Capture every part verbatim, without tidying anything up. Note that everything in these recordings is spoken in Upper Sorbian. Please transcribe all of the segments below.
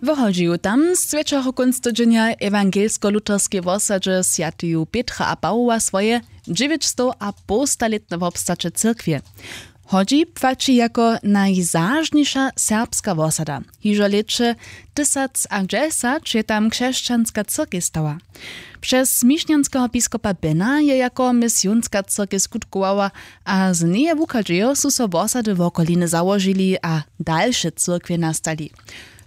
W Hodźeju tam swjećachu kónc tydźenja w ewangelsko-luterskej wosadźe swjateju Pětra a Pawoła swoje dźewjećstowapołstalětne wobstaće cyrkwje. Hodźi płaći jako najzažniša serbska wosada. Hižo w lěće tysacdźesat je tam křesćanska cyrkej stała. Přez mišnjanskeho biskopa Bena je jako misionska cyrkej skutkowała a z njeje wuchadźejo su so wosady wokoliny załožili a dalše cyrkwje nastali.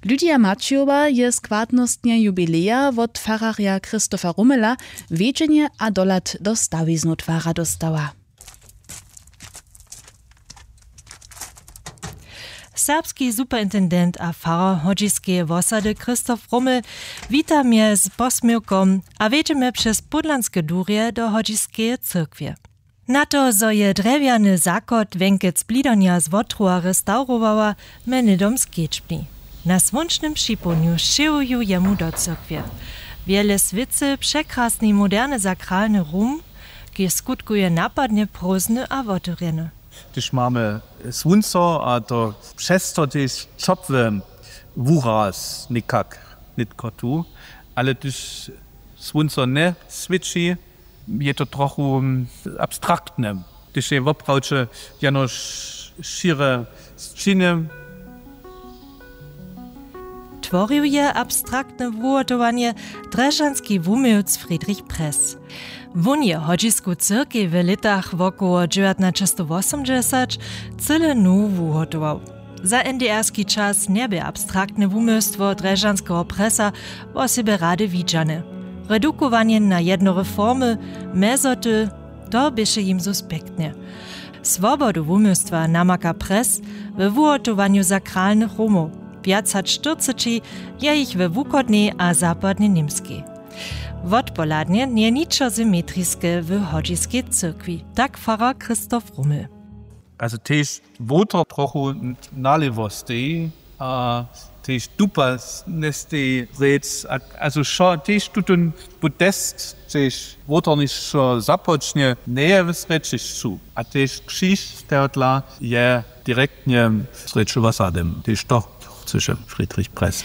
Lydia Maćijowa je składnostnje jubileja wot fararja Christofa Rumela wjedźenje a dohlad do stawiznu twara dóstała. Serbski superintendent a farar hodźiskeje wosady Christoph Rummel wita mje z posměwkom a wjedźemy přez pódlanske durje do hodźiskeje cyrkwje. Na to zo je drjewjany zachod wjenkec blidanja z wotrowa restaurowała, mje hnydom skedźbni. Na słónčnym připołdnju sćěhuju jemu do cyrkwje. Wjele swěcy překrasny moderny sakralny rum, kiž skutkuje napadnje prózdny a wotewrjeny. Hdyž mamy słónco a to přez to tež ćopły wuraz někak nětko tu, ale hdyž słónco njeswěći, je to trochu abstraktne, hdyž je woprawdźe jenož šěre sćiny. Tworił je abstraktne wuhotowanje drježdźanski wuměłc Friedrich Press. Wón je hodźisku cyrkej w lětach wokoło dźewjatnaćestowosomdźesat cyle nowu wuhotował. Za N D R-ski čas njebě abstraktne wuměłstwo drježdźanskeho Pressa wosebje rady widźane. Redukowanje na jednore formy, mjezoty, to běše jim suspektne. Swobodu wuměłstwa namaka Press we wuhotowanju sakralnych rumow. Wjac hač štyrceći je jich we wuchodnej a zapadnej Němskej. Wotpohladnje njeje ničo symetriske w hodźiskej cyrkwi, tak farar Christoph Rummel. Also tež woter trochu nalěwo steji a tež dupa njesteji rěc, also wšo tež tutón podest tež woternišo započnje njeje w srjećišću a tež křiž tehodla je direktnje w srjeću wosady, tež to chcyše Friedrich Press.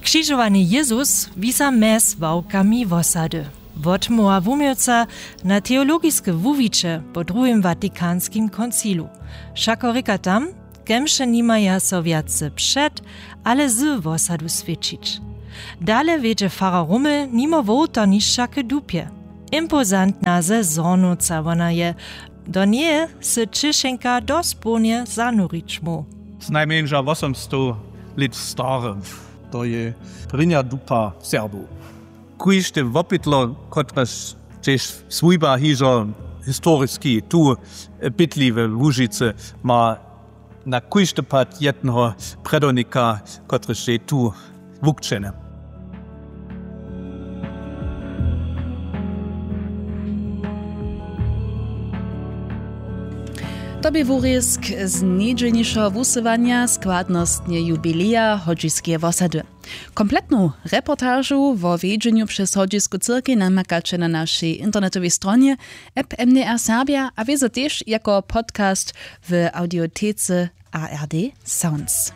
Křižowany Jězus wisa mjez ławkami wosady. Wotmołwa wuměłca na teologiske wuwiće po druhim vatikanskim koncilu. Wšako rěka tam, kemše nimaja so wjace před, ale z wosadu swěćić. Dale wjedźe farar Rummel nimo wołtarnišća k dupje. Impozantna ze Zhornowca wona je, do njeje sy ćěšenka dospołnje zanurić móhł. Znajmjeńša wosomstow lět stary, to je prěnja dupa Serbow. Kóžde wopytlo, kotrež tež swójba hižo historiski tu bydli we Łužicy, ma na kóždy pad jedneho predawnika, kotryž je tu wukćeny. To bě wurězk z njedźelnišeho wusyłanja składnostnje jubileja hodźiskeje wosady. Kompletnu reportažu wo wjedźenju přez hodźisku cyrkej namakaće na našej internetowej stronje, app M D R Serbia a wězo tež jako podcast w audiotece A R D Sounds.